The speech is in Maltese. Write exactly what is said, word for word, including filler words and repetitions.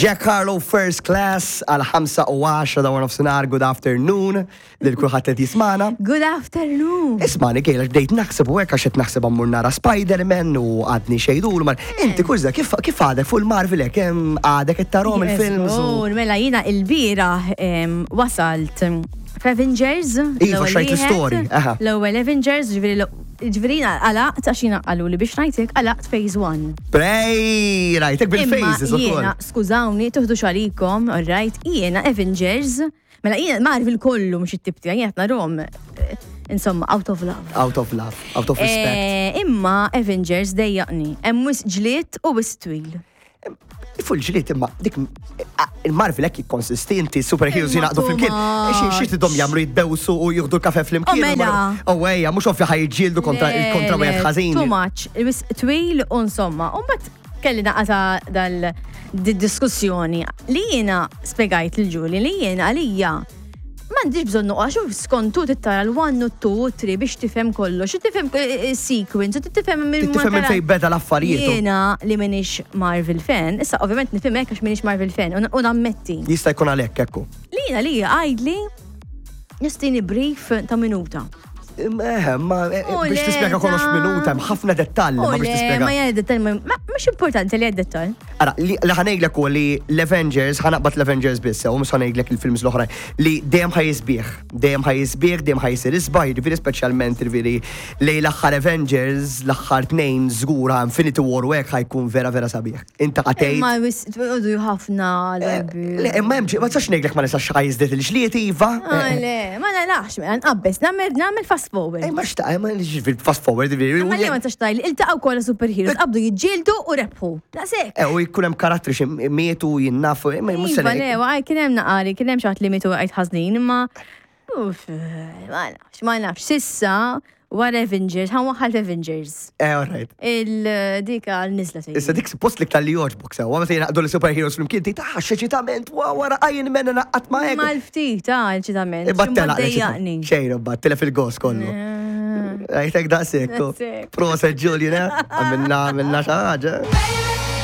Jack Harlow First Class għal ħamsa u għaxra ta' nofsinhar, good afternoon, lil kulħadd qed jismagħna. Good afternoon. Ismagħni Gail, bdejt naħseb u hekk għax qed naħseb ammur nara Spider-Man u għadni xejdul mar. Inti kurza kif kif għadek fuq il-Marvel hekk hemm għadek qed tarahom il-films u Żgur, mela jiena il-bieraħ em, wasalt f'Avengers. Iva, l-ewwel xrajt wieħed. l-story, aha. L-ewwel Avengers, ġifieri l- ġifieri jiena għalaqt għax jiena qalu li biex ngħidlek għalaqt phase one. Prej, rajtek bil-phases Imma ukoll. jiena, skużawni, tuħdu xalikom, alright, jiena Avengers, mela jiena Marvel kollu mhux it-tip tiegħi, jiena narahom, eh, insomma, out of love. Out of love, out of respect. Eh, Imma Avengers dejjaqni, hemm wisq ġlied u wisq twil. Fuq il-ġlied imma dik il-Marvel hekk jikkonsisti inti superheroes Imma jingħaqdu flimkien. too Xi xi tidhom jagħmlu jitbewsu u jieħdu l-kafe flimkien. Oh, mela. Oh ejja, mhux ovvja ħa jiġġieldu kontra Le, kontra le, wieħed ħażin. Too much, wisq twil u insomma. U mbagħad kelli naqata dal di diskussjoni li jiena spjegajt lil Julie li jiena għalija m'għandix bżonn noqgħod xuf skontu tittara l-one u two u three biex tifhem kollox, u tifhem eh, eh, sequence, u tifhem minn Tifhem minn fejn beda l-affarijiet. Jiena li m'iniex Marvel fan, issa ovvjament nifhem hekk għax m'iniex Marvel fan u u nammetti. Jista' jkun għalhekk ekku. Li jiena li għajdli nistini brief ta' minuta. Eh, ma eh, U biex le, tispjega kollox ta' minuta, hemm ħafna dettalji U ma biex le, tispjega. ma jgħid dettal, ma mhux importanti li għed dettal. Ara, li li ħa ngħidlek u li l-Avengers, ħa naqbad l-Avengers biss, u mhux ħa ngħidlek il-films l-oħrajn, li dejjem ħa jisbieħ, dejjem ħa jisbieħ, dejjem ħa jsir isbaħ, jiġifieri speċjalment jiġifieri lej l-aħħar Avengers, l-aħħar tnejn żgur Infinity War u hekk ħa jkun vera vera sabiħ. Inta qatejt. Ma għodu ħafna l-erbi. Le, imma hemm ma tistax ngħidlek ma nistax ħa jiżdied il-ġlied iva. Ah, le, ma narax, mela nqabbes, nagħmel nagħmel fast forward. Ej, ma xtaq, ma fast forward, jiġifieri. Ma li ma tistax tgħidli, iltaqgħu kollha superheroes, qabdu jiġġieldu u rebħu. Daqshekk. Eh, u jkun hemm karattri xi mietu jinnafu, imma mhux se Iva, le, għaj, kien hemm naqari, kien hemm xi ħadd li mietu għajt ħażin, imma uff, ma nafx, ma nafx. Sissa, wara Avengers, ħa waħħal Avengers. Eh, all right. Il-dika l-nizla sejja. Issa dik suppost li tal-li joġbok sewa, meta jingħaqdu l-superheroes flimkien, tgħid ah, x'eċitament, wa wara Iron Man naqgħat ma hekk. Mal-ftit, ah, l-eċitament. Imma telaq dejjaqni. Xejn, imbagħad tilef il-gos kollu. Għajtek daqshekk. Daqshekk. Proset Julian, eh? Għamilna għamilna xi ħaġa.